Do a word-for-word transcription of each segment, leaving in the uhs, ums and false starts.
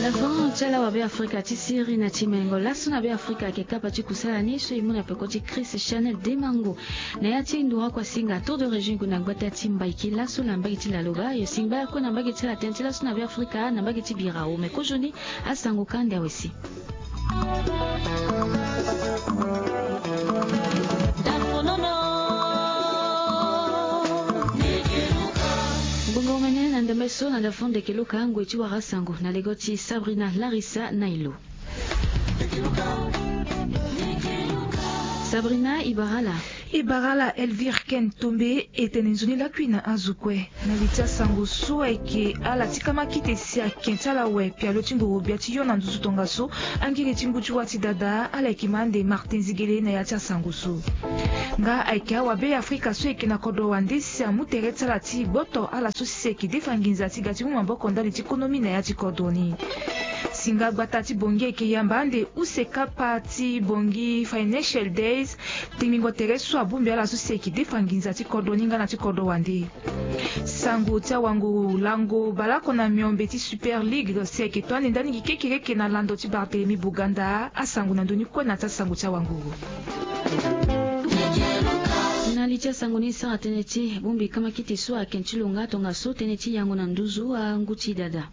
Avant ti ala wa Be Afrika ti siri na ti mengo laso na Be Afrika ayeke kapa ti kusala ni so e mu na peko ti Chris Chanel Demango. Na ya ti nduru oko asinga tour de région e gue na gbata ti Mbaiki laso na mbage ti Laloba. Yo singba ya kue na mbage ti ala tënë ti laso na Be Afrika na mbage ti bira ome kozoni. Asango ka ndia wesi. Ngbonga omene na ndembe so na ndafo ndeke luka ngoi ti wara sango na lego ti Sabrina Larissa Nailo. Sabrina, e bara ala. E bara ala Elvire Ken Tombe. E tene nzoni lakui na azo kue na li ti asango so ayeke ala ti kamakite si aken ti ala awe pialo ti ngoro gbia ti yo na nduzu tongaso. Angiri ti ngu ti wâ ti dada ala yeke ma ande Martin Zigele na ya ti asango so. Nga ayeke awa Be Afrika so ayeke na kodro wande si amu tere ti ala ti gboto ala so si si ayeke defa nginza ti ga ti mu maboko ndali ti konomi na ya ti kodro ni. Si nga gbata ti Bangui ayeke yamba ande use kapa ti Bangui Financial Days. Tingbingo tere so abongbi ala so si ayeke defa nginza ti kodro ni nga na ti kodro wande. Sango ti awango lango baleoko na miombe ti Super League si ayeke to ande ndani gi kekereke na lando ti Barthélemy Boganda. Asango na ndoni kue na ti asango ti awango. Na li ti asango ni sara tënë ti bongbi kamakite so aken ti lo nga tongaso tënë ti yango na nduzu angu ti dada.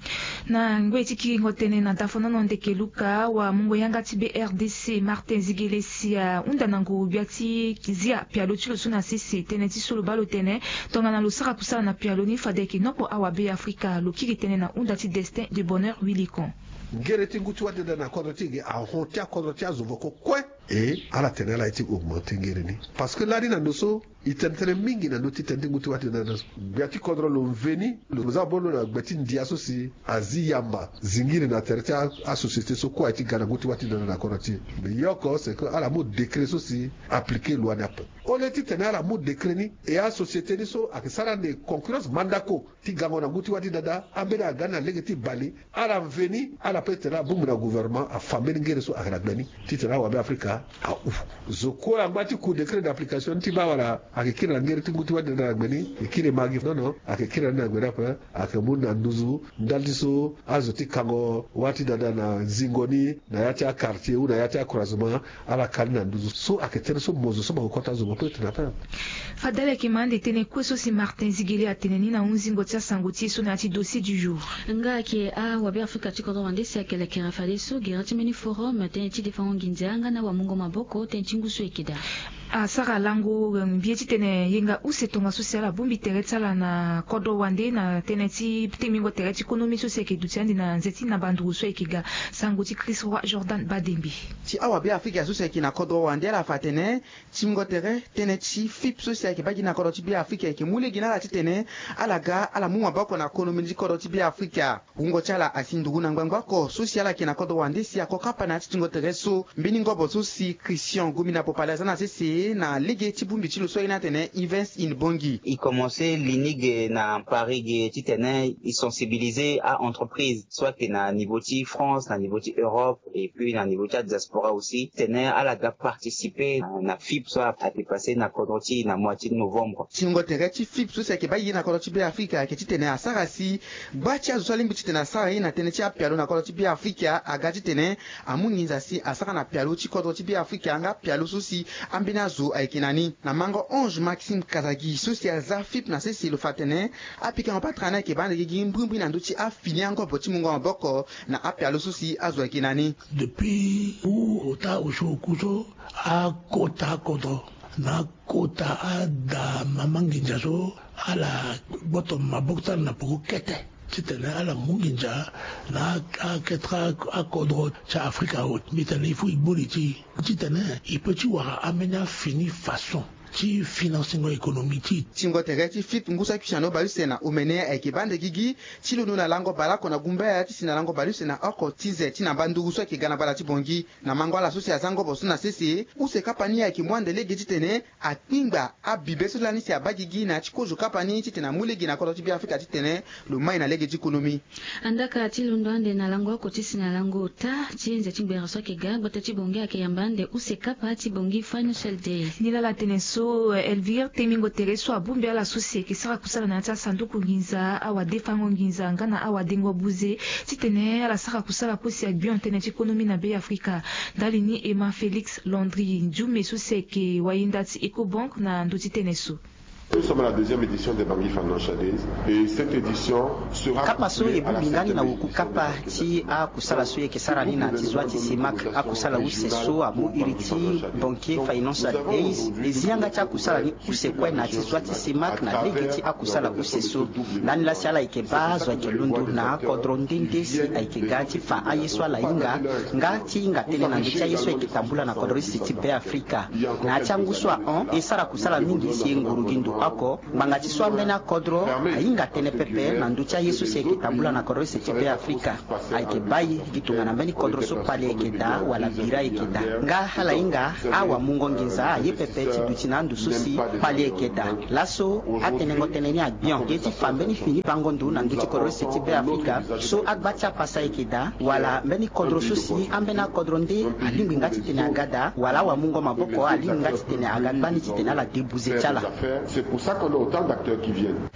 Na ngoi ti kiringo tënë na dafonono ndeke luka wa mungo yanga ti B R D C Martin Zigele si ahunda na nguru gbia ti zia pialo ti lo so na sese tënë ti so lo baa lo tene tongana lo sara kusala na pialo ni fade ayeke noko awa Be Afrika. Lo kiri tënë na hunda ti Destin de Bonheur Wilikon. Ngere ti ngu ti wâ ti dada na kodro ti e ge ahon ti akodro ti azo voko kue. E ala tene ala ye ti augmenter ngere ni. Parce que lani na ndo so e tene tënë mingi na ndö ti tënë ti ngu ti wâ ti dada so. Gbia ti kodro lo mveni lo za bolo na gbe ti ndia so si azi yamba zingiri na tere ti asociété so kue aye ti ga na ngu ti wâ ti dada na kodro ti e. Mais ye oko c'est que ala mu décret so si appliquer loi ni ape. Au lieu ti tene ala mu décret ni e asociété ni so ayeke sara ande concurrence mandako ti gango na ngu ti wâ ti dada ambeni aga ni na lege ti bale. Ala mveni ala pe tene ala bongbi na gouvernement afa mbeni ngere so ayeke na gbe ni titene awa Be Afrika ahu. Zo kue angba ti ku décret d'application ni ti baa wala ayeke kiri na ngere ti ngu ti wâ ti dada na gbe ni? E kiri ma gi nono. Ayeke kiri na ni na gbe ni ape. Ayeke mu na nduzu ndali ti so azo ti kango wâ ti dada na zingo ni na ya ti aquartier ou na ya ti acroisement. Ala kali na nduzu so ayeke tënë so mo zo so mo yeke kota zo mo pe tene ape. Fade ala yeke ma ande tënë kue so si Martin Zigele atene ni na hunzingo ti asango ti e so na ya ti dossier du jour. Nga ayeke awabe Afrika ti kodro wande si ayeke lekere fadeso gere ti mbeni forum tënë ti defango nginza nga na wamungo maboko tënë ti ngu so ayeke daa. Asara lango mbi ye titene yenga use tongaso si ala bongbi tere ti ala na kodro wande na tënë ti tingbingo tere ti konomi so si ayeke duti ande na nze ti na banduru so ayeke ga. Sango ti Chris Roi Jordan Badembe. Ti awabe Afrika so si ayeke na kodro wande ala fa atene tingbingo tere tënë ti FIP so si ayeke baa gi na kodro ti Be Afrika ayeke mu lege na ala titene ala ga ala mu maboko na konomi ti kodro ti Be Afrika. Wungo ti ala asi nduru na ngbangba oko so si ala yeke na kodro wande si ako kapa na ya ti tingo tere so mbeni ngobo so si Christian Gomina Popale aza na sese na lege ti bongbi ti lo so aye ni atene Events in Bangui. E commence li ni ge na Paris ge titene e sensibiliser a-entreprise so ayeke na niveau ti France, na niveau ti Europe, et puis na niveau ti adiaspora aussi titene ala ga participer na, na FIP so a, a dépassé na kodro ti e na mois ti novembre. Tingo tere ti FIP so si ayeke baa gi na kodro ti Be Afrika ayeke titene asara si gba ti azo so alingbi titene asara ye na tënë ti apialo na kodro ti Be Afrika aga titene amu nginza si asara na pialo ti kodro ti Be Afrika nga pialo so si ambeni azo ayeke na ni. Na mango Ange Maxime Kazagi so si aza FIP na sese lo fa atene apikango patara ni ayeke baa ande gigi mbrimbri na ndö ti afini angobo ti mungo maboko na apialo so si azo ayeke na ni. Depuis ku ota osio oku so akota kodro na kota ada mama nginza so ala gboto maboko ti ala na peko kete titene ala mu nginza na akete akodro ti Afrika awe. Mbi tene il faut e gbu li ti e titene e peut ti wara ambeni afini façon ti financengo économie ti e. Tingo tere ti FIP ngu so akui si na ni obaluse na omene ayeke baa ande gigi ti londo na lango baleoko na gumbaya ti si na lango baluse na oko ti ze ti na mbanduru so ayeke ga na bala ti Bangui. Na mango ala so si aza ngobo so na sese use kapa ni ayeke mu ande lege titene akpingba abibe so lani si abaa gigi na ya ti kozo kapa ni titene amu lege na kodro ti Be Afrika titene lo mai na lege ti konomi. Andaka ti londo ande na lango oko ti si na lango ota ti nze ti ngbere so ayeke ga gbata ti Bangui ayeke yamba ande use kapa ti Bangui Financial Day. Ni laa ala tene so. Elvire Temingo tere so abongbi ala so si ayeke sara kusala na ya ti asanduku nginza, awadefango nginza nga na awadengo buze, titene ala sara kusala kue si agbion tënë ti konomi na Be Afrika. Ndali ni Emma Félix Landry Ndioume so si ayeke wayenda ti Ecobank na ndö ti tënë so. Nous sommes à la deuxième édition des Bangui Financial Days et cette édition sera kapa so e bongbi ndani na woku kapa ti akusala so e yeke sara ni na ti zwa ti CEMAC. Akusala use so amu iri ti Banquier Financial Days e zi yanga ti akusala ni use kue na ti zwa ti CEMAC na lege ti akusala use so. Ndani laa si ala yeke baa azo ayeke londo na akodro nde nde si ayeke ga ti fa aye so ala hinga nga ti hinga tënë na ndö ti aye so ayeke tambula na kodro use ti Be Afrika. Na ya ti angu so ahon e sara kusala mingi si e nguru gi ndo oko. Ngbanga ti so ambeni akodro ahinga tënë pepe na ndö ti aye so si ayeke tambula na kodro use ti Be Afrika. Ayeke bai gi tongana mbeni kodro so kpale ayeke daa wala bira ayeke daa. Nga ala hinga awamungo nginza aye pepe ti duti na ando so si kpale ayeke daa. Laso atenengo tënë ni agbion ye ti fa mbeni fini bango ndo na ndö ti kodro use ti Be Afrika so agba ti apasa ayeke daa wala mbeni kodro so si ambeni akodro nde alingbi nga titene aga daa wala awamungo maboko alingbi nga titene aga gbani titene ala debuze ti ala. C'est pour ça qu'on a autant d'acteurs qui viennent.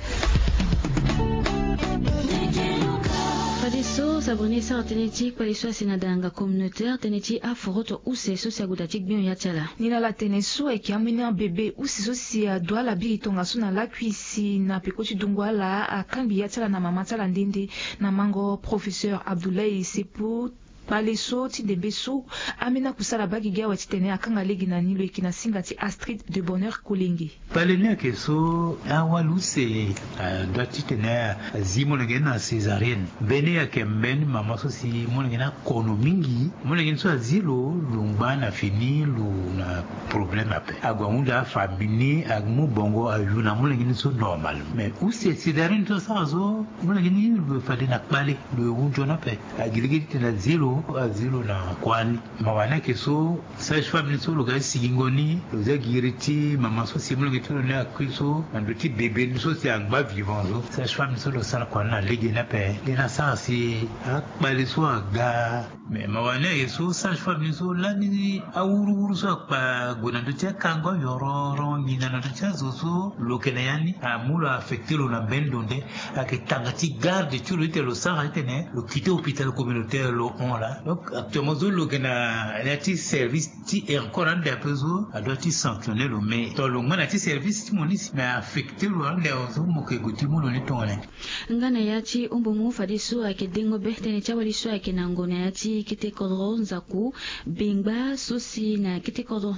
Fadeso Sabrina e sara tënë ti kpale so asi na dalanga communautaire tënë ti aforoto use so si ague daa ti gbion ya ti ala. Ni na ala tënë so ayeke ambeni abebe use so si adu ala biri tongaso na lakui si na peko ti dungo ala akangbi ya ti ala na mama ti ala nde nde na mango professeur Abdoulaye Sepo. Kpale so ti ndembe so ambeni akusala baa gigi awe titene akanga lege na ni lo yeke na singa ti Astrid de Bonheur Kolenge. Kpale ni ayeke so awali use adua titene azi molenge ni na césarienne. Mbeni ayeke mbeni mama so si molenge ni akono mingi. Molenge ni so azi lo, lo ngba na fini lo na problème ape. Ague ahunda afamille ni amu bongo ayu na molenge ni so normal. Mais use césarienne so asara so molenge ni lo fade na kpale lo hunzo ni ape. Agi lege ti tene azi lo, azi lo na kua ni. Mawa ni ayeke so sage femme ni so lo ga ti sigingo ni lo zia giri ti mama so si molenge ti lo ni akui so na ndö ti bebe ni so si angba vivant so sage femme ni so lo sara kua ni na lege ni ape. Nde ni asara si akpale so aga. Mais mawa ni aye so sage femme ni so lani awuruwuru so akpa gue na ndö ti akango ayororo nginza na ndö ti azo so lo yeke na ya ni amu lo affecté lo na mbeni ndo nde. Ayeke tanga ti garde ti lo ti tene lo sara ti tene lo quitté hôpital communautaire lo hon laa. Donc actuellement so lo yeke na ya ti service ti e encore ande ape so adua ti sanctionner lo mais to lo ngba na ya ti service ti mo ni si mais affecté lo ande awe so mo yeke gue ti mu lo ni tongana nyen? Nga na ya ti humbumu fadeso ayeke dengo be tënë ti awali so ayeke na ngu na ya ti kete kodro nzaku bengba so si na kete kodro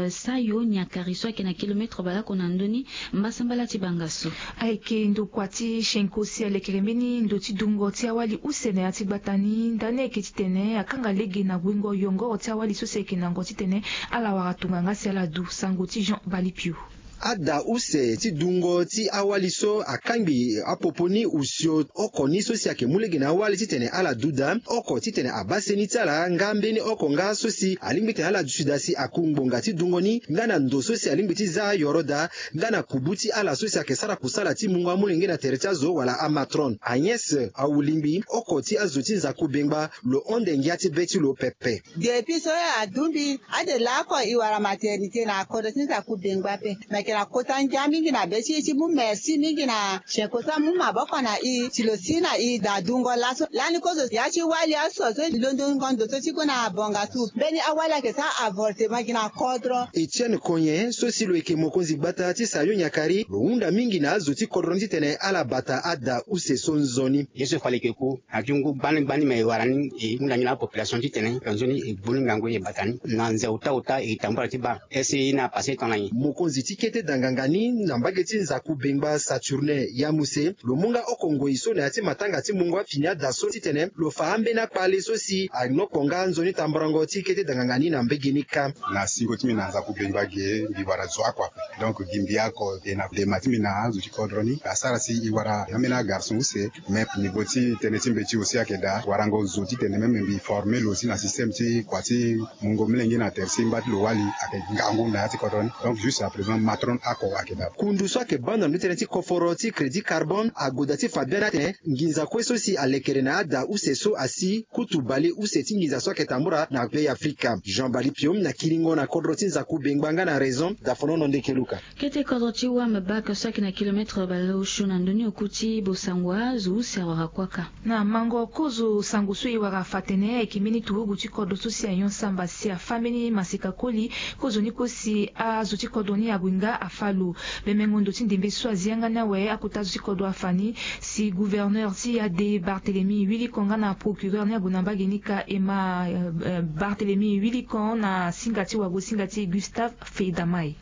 sayo nyakari so ayeke na kilometre baleoko na ndö ni mbasambala ti banga so. Ayeke ndokua ti shenko si alekere mbeni ndo ti dungo ti awali use na ya ti gbata ni ndani ayeke titene akanga lege na guengo yongoro ti awali so si ayeke na ngu titene ala wara tongana nga si ala du sango ti Jean Balipio. Ada use ti dungo ti awali so akangbi apopo ni osio oko ni so si ayeke mu lege na awali titene ala du daa oko titene abaa seni ti ala nga mbeni oko nga so si alingbi titene ala duti daa si aku ngbonga ti dungo ni nga na ndo so si alingbi ti za ayoro daa nga na kubu ti ala so si ayeke sara kusala ti mungo amolenge na tere ti azo wala amatron. Agnès Awulingbi oko ti azo ti nzaku bengba lo honde ngia ti be ti lo pepe. Depuis so adu mbi ade laoko e wara maternité na kodro ti nzaku bengba ape. Me yeke na kota ngia mingi na be ti e ti mu merci mingi na shenko so amu maboko na e si lo si na e daa dungo laso lani kozo ya ti wali aso so e londongo ndo so ti gue na bonga so mbeni awali ayeke sara avortement gi na kodro. Etienne Konyen so si lo yeke mokonzi gbata ti sayo nyakari lo hunda mingi na azo ti kodro ni titene ala bata ada use so nzoni. Ye so e fa leke ku na ti ngu gbani gbani me e wara ni e hunda ngi na apopulation titene ka nzoni e gbu ni ngangu e bata ni na nze ota ota e tambula ti baa. Ese e na pase tongana nyen? Mokonzi ti kete danganga ni na mbage ti nzaku bengba Saturnin Yamuse lo mu nga oko ngoi so na ya ti matanga ti mungo afini ada so titene lo fa ambeni akpale so si anoko nga nzoni tamborango ti kete danganga ni na mbege ni kâ. Na singo ti mbi na nzaku bengba ge mbi wara zo oko ape. Donc gi mbi oko e na dema ti mbi na azo ti kodro ni asara si e wara ambeni agarçon use. Mais niveau ti tënë ti mbeti aussi ayeke daa warango zo titene même mbi former lo aussi na système ti kua ti mungo molenge na tere si ngba ti lo wali ayeke ngangu na ya ti kodro ni. Donc juste à présent maton Oko wake baba kundu so ayeke baa na ndo ti tënë ti koforo ti crédit carbone agoda ti fa biani atene nginza kue so si alekere na ada use so asi kutu bale use ti nginza so ayeke tambula na be afrika jean bali piom na kiringo na kodro ti nzaku bengba nga na raison dafonono ndeke luka. Kete kodro ti wam bak so ayeke na kilometre baleosio na ndoni oku ti bosangua zo use awara kuaka. Na mango kozo sango so e wara fa tene ayeke mbeni turugu ti kodro so si ayon samba si afa mbeni maseka koli. Kozo ni kue si azo ti kodro ni ague nga afa lo. Bemengo ndo ti ndembe so azi yanga ni awe akota azo ti kodro afa ni. Si gouverneur ti ade barthélemy wili konga na procureur ni ague na mbage ni ka ema barthélemy wili kon na singa ti wago singa ti gustave feidamai.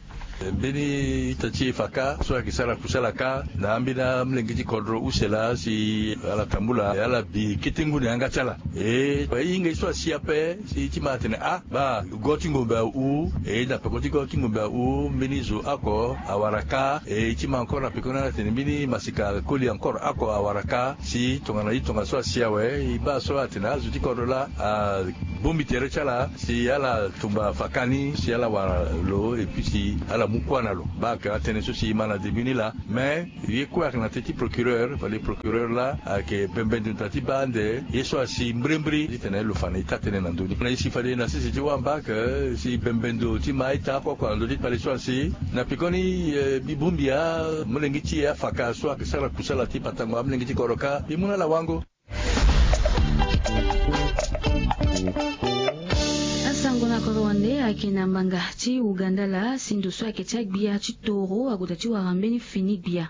Mbeni ita ti e fa kâ so ayeke sara kusala kâ na ambeni amolenge ti kodro use laa si ala tambula ala bi kete ngu na yanga ti ala. E e hinga ye so asi ape si ti ma atene ah baa go ti ngombe ahu e na peko ti go ti ngombe ahu mbeni zo oko awara kâ. E ti ma encore na peko ni ala tene mbeni masika koli encore oko awara kâ si tongana ye tongaso asi awe. E baa so atene azo ti kodro laa abongbi tere ti ala si ala tumba fa kâ ni si ala wara lo epui si ala mu kuâ na lo. Baa ayeke atënë so si e ma na début ni laa. Mais ye kue ayeke na teti procureur fade procureur laa ayeke bembe ndo na ti baa ande ye so asi mbrimbri titene lo fa na ita tënë na ndö ni na ye si fade na sese ti wamba ayeke si bembe ndo ti ma ita oko oko na ndö ti kpale so asi na pekoni. Mbi bongbi amolenge ti e afaka so ayeke sara kusala ti patango amolenge ti kodro kâ mbi mu na ala wango. Asango na kodro wande ayeke na mbanga ti uganda laa si ndo so ayeke ti agbia ti toro ague daa ti wara mbeni fini gbia.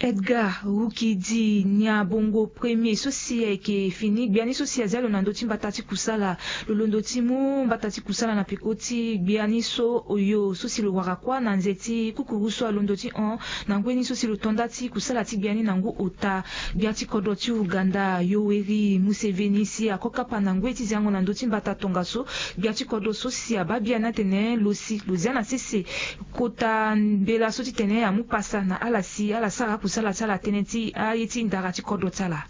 Edgar rukidi nyabongo premier so si ayeke fini gbia ni so si azia lo na ndö ti mbata ti kusala. Lo londo ti mu mbata ti kusala na peko ti gbia ni so oyo so si lo wara kuâ na nze ti kukuru so alondo ti hon na ngoi ni so si lo to nda ti kusala ti gbia ni na ngu ota. Gbia ti kodro ti uganda yoweri museveni si ako kapa na ngoi ti ziango na ndö ti mbata tongaso. Gbia ti kodro so si abaa biani atene lo si lo zia na sese kota mbela so titene amu pasa na ala si ala sara akusala ti ala tënë ti aye ti ndara ti kodro ti ala.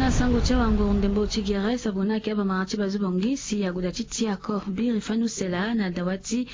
Na sango ti awanguru ndembo ti gere sabona ayeke abamara ti bazo bongi si ague daa ti ti ako biri fani use laa na dawa ti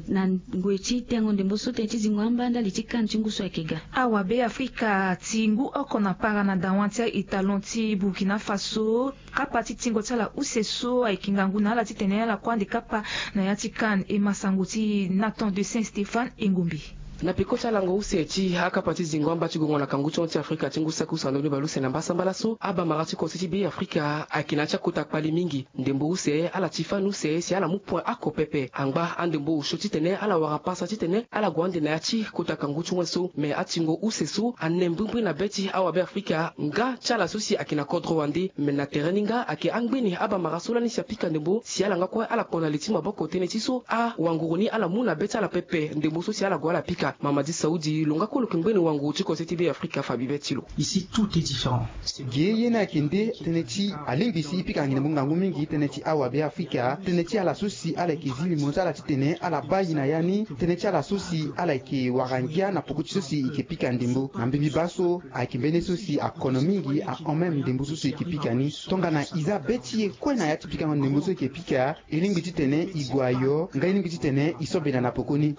na ngoi ti tengo ndembo so tënë ti zingo amba ndali ti kane ti ngu so ayeke ga. Awabe afrika ti ngu oko na para na dawa ti a-etalon ti burkina faso. Kapa ti tingo ti ala use so ayeke ngangu na ala titene ala kue ande kapa na ya ti kane e ma sango ti nathan de saint stéphane e ngombe. Na peko ti alango use ti akapa ti zingo amba ti gongo na kangu ti hon ti afrika ti ngu saki use na ndoni baleuse na mbasambala so abamara ti kose ti be afrika ayeke na ya ti akota kpali mingi. Ndembo use ala ti fani use si ala mu point ako pepe angba andembo osio titene ala wara pasa titene ala gue ande na ya ti kota kangu ti hon so me atingo use so ane mbrimbri na be ti awabe afrika nga ti ala so si ayeke na kodro wande me na tere ni nga ayeke angbeni abamara so lani si apika ndembo si ala nga kue ala kpo na li ti maboko tënë ti so awanguru ni ala mu na be ti ala pepe ndembo so si ala gue ala pika mamadi saudi lo nga kue lo yeke ngbeni wanguru ti kose ti be afrika fa bibe ti lo. Ici tout est différent. Gi ye ni ayeke nde tënë ti alingbi si e pika nginda ngu ngangu mingi tënë ti awabe afrika tënë ti ala so si ala yeke zi limo ti ala titene ala baa e na ya ni tënë ti ala so si ala yeke wara ngia na poko ti so si e yeke pika ndembo na mbimbi baa so ayeke mbeni ye so si akono mingi ahon même ndembo so si e yeke pika ni. Tongana e za be ti e kue na ya ti pikango ndembo so e yeke pika e lingbi titene e gue ayo nga e lingbi titene e so bena na poko ni.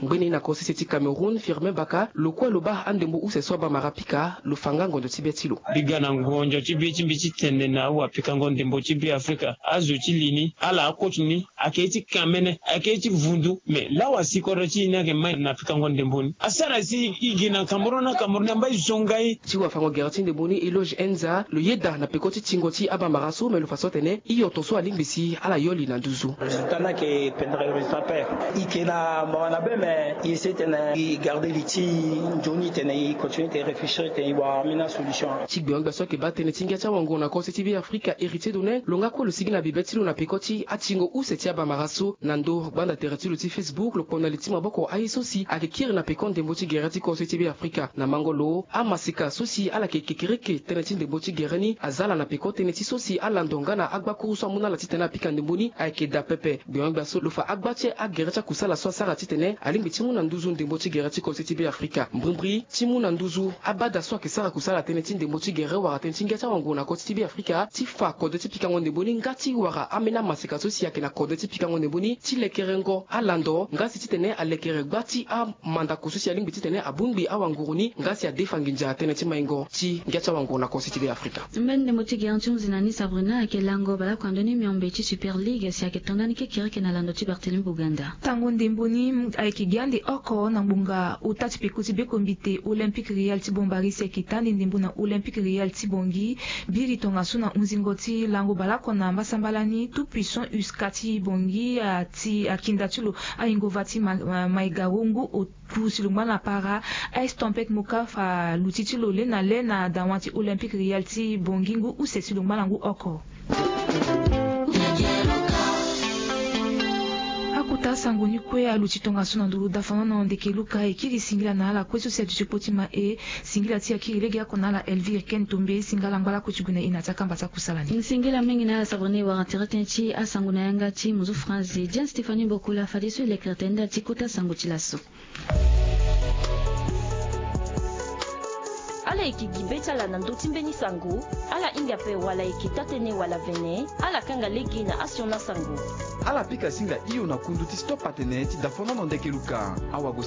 Ngbeni na kosese ti cameroun firmin baka lo kue lo baa andembo use so abamara pika lo fa nga ngonzo ti be ti lo. Mbi ga na ngonzo ti be ti mbi ti tene na awapikango ndembo ti be afrika azo ti li ni ala akoti ni ayeke ye ti kamene ayeke ye ti vundu me lawa si kodro ti e ni ayeke mai na pikango ndembo ni asara si e gi na cameroun na cameroun amba e zonga e. Ti wafango gere ti ndembo ni eloge enza lo yeda na peko ti tingo ti abamara so me lo fa so atene hio tongaso alingbi si ala yo li na nduzu. Résultat ni ayeke pendere résultat pere. E yeke na mawa na be me e essaye tene e garde li ti nzoni tene e continue tene réfléchir tene e wara ambeni asolution. Ti gbengo-gbia so ayeke baa tënë ti ngia ti awango na kose ti be afrika héritier donne lo nga kue lo sigi na bibe ti lo na peko ti atingo use ti abamara so na ndo gbanda tere ti lo ti facebook lo kpo na li ti maboko aye so si ayeke kiri na peko ndembo ti gere ti kose ti be afrika na mango lo amasika so si ala yeke kekereke tënë ti ndembo ti gere ni aza ala na peko tënë ti so si alando nga na agbakuru so amu na ala titene apika ndembo ni ayeke daa pepe. Gbengo-gbia so lo fa agba ti agere ti akusala so asara titene alingbi ti mu na Nduzu ndembo ti gere ti kode ti Be Afrika, mbrimbri ti mu na nduzu abada so ayeke sara kusala tënë ti ndembo ti gere wala tënë ti ngia ti awanguru na kode ti Be Afrika, ti fa kode ti pikango ndembo ni nga ti wara ambeni amaseka so si ayeke na kode ti pikango ndembo ni ti lekerengo alando nga si titene alekere gba ti amandako so si alingbi titene abongbi awanguru ni nga si adefa nginza tënë ti maingo ti ngia ti awanguru na kode ti Be Afrika. Mbeni ndembo ti gere ti hunzi na ni Sabrina ayeke lango baleoko na ndö ni miombe ti Super League si ayeke to ndani kekereke na lando ti Barthélemy Boganda. Tango ndembo ni ayeke gi ande oko na ngbonga ota ti peko ti bekombite Olympique Real ti Bombari si ayeke ta ande ndembo na Olympique Real ti Bangui. Biri tongaso na hunzingo ti lango baleoko na mbasambala ni, Tout Puissant Uska ti Bangui ati akinda ti lo ayingo va ti Ma- Ma- Maigaro ngu oku si lo ngba na para. Ice Tempête Moka fa luti ti lo le na le na dawa ti Olympique Real ti Bangui ngu use si lo ngba na ngu oko. Akota sango ni kue aluti tongaso na nduru dafanono ndeke luka e kiri singila na ala kue so si aduti kpo ti ma e. Singila ti akiri legeoko na ala Elvire Ken Tombe, singala ngbalako ti gue na e na ti akamba ti akusala ni. Singila mingi na ala Sabrina e wara tere tënë ti asango na yanga ti muzu France. Jane Stéphanie Bokula fadeso e lekere tene ndali ti kota sango ti laso. Ala yeke gi be ti ala na ndö ti mbeni sango. Ala hinga ape wala yeke taa-tënë wala vene. Ala kanga lege na asioni asango. Ala pika singa hio na kundu ti stop atene ti dafanono ndeke luka. Awagosinga.